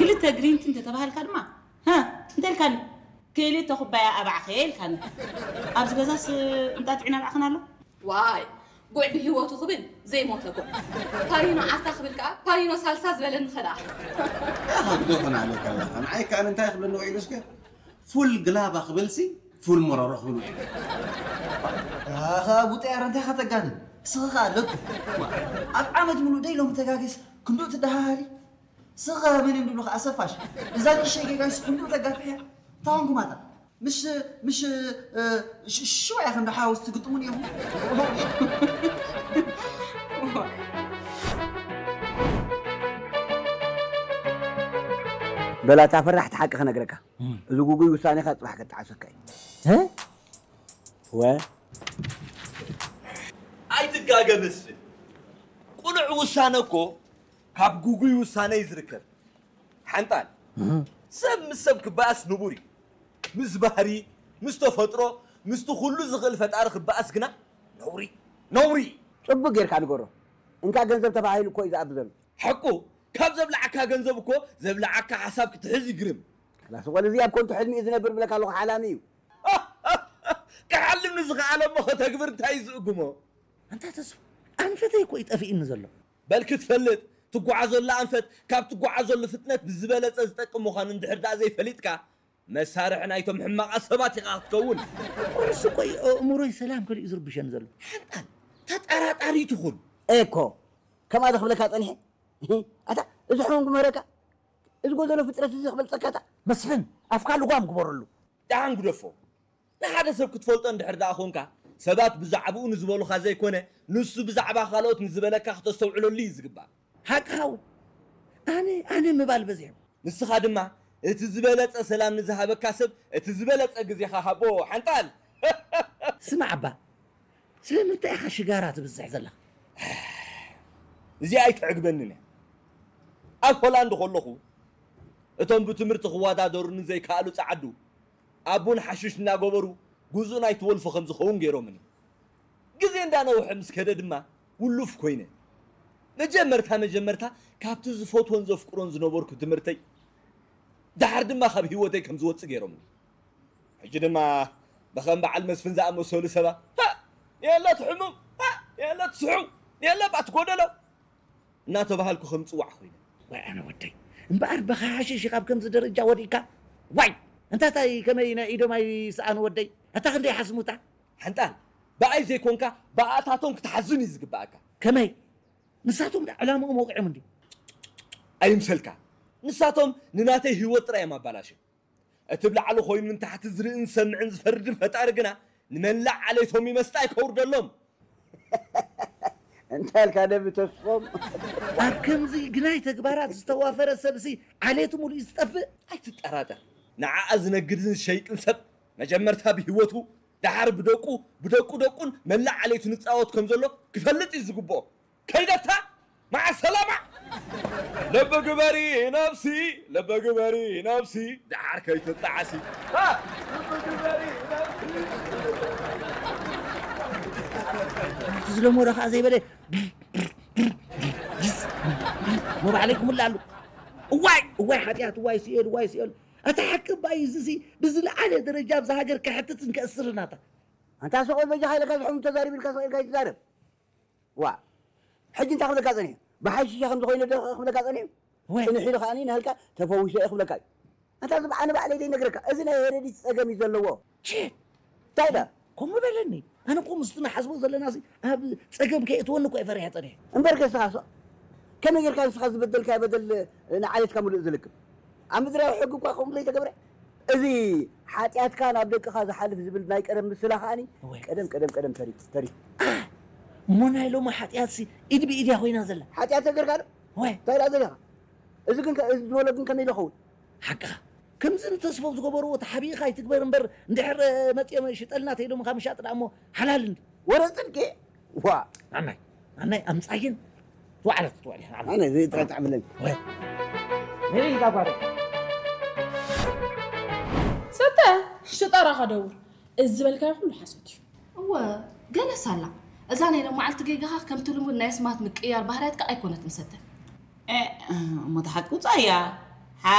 ክልተ ግሪን ቲ እንተተባሃልካ ድማ፣ "ሃ፣ እንታይ ኢልካኒ? ክልተ ኩባያ ኣባዕኸ" ኢልካኒ። ኣብዚ ገዛስ እንጣጢዕና ኣባዕኸና ኣሎ? ዋይ፣ ጉዕ ብህይወቱ ክብል ዘይሞተ ጉዕ። ፓሪኖ ዓርታ ክብል ከኣ ፓሪኖ ሳልሳ ዝበለኒ ኸኣ። ኣኽብዶ ኹን ኣለካ ኣለኻ። ንዓይ ከኣ እንታይ ክብለኒ ውዒሉ እስከ? ፉል ግላባ ክብልሲ ፉል መሮሮ ክብል ውዒሉ። ኣኻ ቡጠያር እንታይ ከተጋንን? ስኻ ኣለኩ። ኣብ ዓመት ሙሉእ ደይ ሎም ተጋገስ ክንዱ ትደሃሃሊ። ስኻ መን እንድሉ ከኣ ሰፋሽ። እዛ ንእሽተይ ጌጋንስ ክንዱ ተጋፍያ። ታውን ኩማታ። ምሽ ምሽ እ፣ ሽ- ሽዋ ኢኹም ዶ ሓወስ ትግጥሙን ኢኹም? በላ እታ ፈራሕቲ ሓቂ ክነግረካ፣ እዚ ጉጉይ ውሳኔኻ ጽባሕ ከተዓሰካ እዩ። እ? ወ ኣይትጋገ መስፍን፣ ቁኑዕ ውሳነ እኮ ካብ ጉጉይ ውሳነ እዩ ዝርከብ። ሓንጣል፣ ሰብ ምስ ሰብ ክበኣስ ንቡር እዩ። ምስ ባህሪ፣ ምስ ተፈጥሮ፣ ምስቲ ኩሉ ዝኽእል ፈጣሪ ክበኣስ ግና ነውሪ፣ ነውሪ እዩ። ጽቡቅ ጌርካ ንገሮ። እንካ ገንዘብ ተባሂሉ እኮ እዩ ዝኣቢ ዘሎ። ሓቁ፣ ካብ ዘብላዓካ ገንዘብ እኮ ዘብላዓካ ሓሳብ ክትሕዝ ይግርም። ላስ ቆል እዚ ኣብ ኮንቱ ሕልሚ እዩ ዝነብር ብለካ ኣለኹ ሓላሚ እዩ። ክሓልም ንዝኸኣለ እሞ ከተግብር እንታይ እዩ ዝእግሞ? ኣንታ ተስፉ፣ ኣንፈተይ እኮ እዩ ጠፊእኒ ዘሎ። በል ክትፈልጥ፣ ትጓዓዘሉ ኣንፈት ካብ ትጓዓዘሉ ፍጥነት ብዝበለጸ ዝጠቅም ምዃኑ እንድሕር ደኣ ዘይፈሊጥካ፣ መሳርሒ ናይቶም ሕማቓት ሰባት ኢኻ ክትከውን። እኮ ንሱ እኮ እዩ ኣእምሮይ ሰላም ከሊኡ ዝርብሸኒ ዘሎ። ሓንጣል፣ ተጠራጣሪ ትኹን። ኤኮ፣ ከምኣ ዶ ክብለካ ጸኒሐ? ኣታ፣ እዚ ሕሙም ግመረካ? እዚ ጎደሎ ፍጥረት እዚ ክበልጸካ እታ? መስፍን፣ ኣፍካ ልጓም ግበረሉ። ደሓን ግደፎ። ንሓደ ሰብ ክትፈልጦ እንድሕር ደኣ ኾንካ፣ ሰባት ብዛዕባኡ ንዝበሉኻ ዘይኮነ፣ ንሱ ብዛዕባ ካልኦት ንዝበለካ ክተስተውዕለሉ እዩ ዝግባእ። ሓቅኻ እውን። ኣነ፣ ኣነ ምባል በዚሑ። ንስኻ ድማ፣ እቲ ዝበለጸ ሰላም ንዝሃበካ ሰብ፣ እቲ ዝበለጸ ግዜኻ ሃቦ፣ ሓንጣል። ስማዕ እባ፣ ስለምንታይ ኢኻ ሽጋራ ትብዝሕ ዘለኻ? እዚኣ ኣይትዕግበንን እያ። ኣብ ሆላንድ ከለኹ፣ እቶም ብትምህርቲ ክወዳደሩኒ ዘይከኣሉ ጸዓዱ፣ ኣብ ቡን ሓሽሽ እናገበሩ፣ ግዝኡ ናይቲ ወልፊ ከም ዝኸውን ገይሮምኒ። ግዜ እንዳነውሐ ምስ ከደ ድማ፣ ውሉፍ ኮይነ። መጀመርታ መጀመርታ፣ ካብቲ ዝፈትዎን ዘፍቅሮን ዝነበርኩ ትምህርተይ፣ ደሓር ድማ ካብ ህይወተይ ከም ዝወጽእ ገይሮምኒ። ሕጂ ድማ ብኸም በዓል መስፍን ዝኣመሰሉ ሰባት፣ ሃ! የለ እቲ ሕሙም፣ ሃ! የለ እቲ ስሑው፣ የለ እባ እቲ ጎደሎ እናተባሃልኩ ከም ዝጽዋዕ ኮይነ። ዋይ ኣነ ወደይ፣ እምበኣር ብኻ ሓሽሽ ኢኻ ኣብ ከምዚ ደረጃ ወዲእካ? ዋይ! እንታታይ ከመይ ናይ ኢዶም ኣይሰኣኑ ወደይ? ኣታ ክንደይ ሓስሙታ? ሓንጣል፣ ብኣይ ዘይኮንካ ብኣታቶም ክትሓዝን እዩ ዝግብኣካ። ከመይ? ንሳቶም ደኣ ዕላምኦም ወቒዖም እንድዩ። ኣይምሰልካ። ንሳቶም ንናተይ ህይወት ጥራይ እዮም ኣባላሽዮም። እቲ ብላዕሊ ኮይኑ ንታሕቲ ዝርእን ዝሰምዕን ዝፈርድን ፈጣሪ ግና ንመላእ ዓሌቶም ይመስጣ ኣይከውርደሎም። እንታይ ኢልካ ነቢ ተስፎም? ኣብ ከምዚ ግናይ ተግባራት ዝተዋፈረ ሰብሲ ዓሌቱ ሙሉእ እዩ ዝጠፍእ። ኣይትጠራጠር። ንዓኣ ዝነግድን ዝሸይጥን ሰብ መጀመርታ ብህይወቱ ደሓር ብደቁ ብደቁ ደቁን መላእ ዓሌቱ ንጻወት ከም ዘሎ ክፈልጥ እዩ ዝግብኦ። ከይደታ መዓ ሰላማ። ልቢ ግበሪ ነብሲ፣ ልቢ ግበሪ ነብሲ፣ ደሓር ከይትጣዓሲ። ሃ! ልቢ ግበሪ ነብሲ። እቲ ዝለመዶ ከዓ ዘይበለ መባዕለይ ክምልእ ኣሉ። እዋይ እዋይ ሓጢኣት፣ እዋይ ስኤል፣ እዋይ ስኤል። ኣታ ሓቂ እባ እዩ፣ እዚሲ ብዝለዓለ ደረጃ ኣብዛ ሃገር ከሕትትን ከእስርን ኣታ። ኣንታ ሰቆል በጃኻ ኢለካ ዝሕሙ ተዛሪብ ኢልካ ሰቂልካ ይትዛረብ። ዋ ሕጂ እንታይ ክብለካ ጸኒሑ? ብሓይሽሻ ከም ዝኾይነ ዶ ክብለካ ጸኒሑ? ወይ ጽንሕ ኢሉ ከኣኒ ናልካ ተፈዊሸ እየ ክብለካ እዩ። ኣንታ እዚ ብዓነ ባዕለይ ዘይነግረካ፣ እዚ ናይ ሄረዲት ጸገም እዩ ዘለዎ። ቺት እንታይ ዳ? ከምኡ በለኒ። ኣነ እኮ ምስቲ ንሓስቦ ዘለናሲ ኣብ ጸገም ከየእትወኒ እኮ እየ ፈሪሐ ጸኒሐ። እምበር ከስኻ ሶ ከመይ ጌርካ ንስኻ ዝበደልካዮ በደል ንዓሌትካ ምሉእ ዝልክም? ኣብ ምድራዊ ሕጊ እኳ ከምኡ ዘይተገብረ። እዚ ሓጢኣትካ ናብ ደቅኻ ዝሓልፍ ዝብል ናይ ቀደም ምስላ ከኣኒ እወ። ቀደም ቀደም ቀደም ተሪፉ ተሪፉ። እሞ ናይ ሎሚ ሓጢኣትሲ ኢድ ብኢድ እያ ኮይና ዘላ። ሓጢኣት ተገርካ ዶ? እወ። እንታይ ደኣ ዘሊኻ? እዚ ግን ከ- እዚ ዝበሎ ግን ከመይ ኢሉ ይኸውን? ሓቅኻ። ከምዚ ንተስፎ ዝገበርዎ ተሓቢእኻ ኣይትግበር እምበር እንድሕር መፂኦም ሽጠልና ተይሎምኻ ምሻጥ ደኣ እሞ ሓላል እንዲ። ወረ ፅድቂ ዋ ኣናይ ኣናይ ኣምፃይን ትዋዕለት ትዋዕለት ኣነ ዘይጥረጣዕ ብለኝ። ወይ ሰተ ሽጠራኻ ደውር እዚ ዝበልካዮ ኩሉ ሓሶት እዩ። እወ ገለስ ኣላ እዛ ናይ ሎማዓልቲ ጌጋኻ ከምቲ ልሙድ ናይ ኣስማት ምቅይያር ባህርያትካ ኣይኮነትን ሰተ። እሞ ተሓቂ ውፃእያ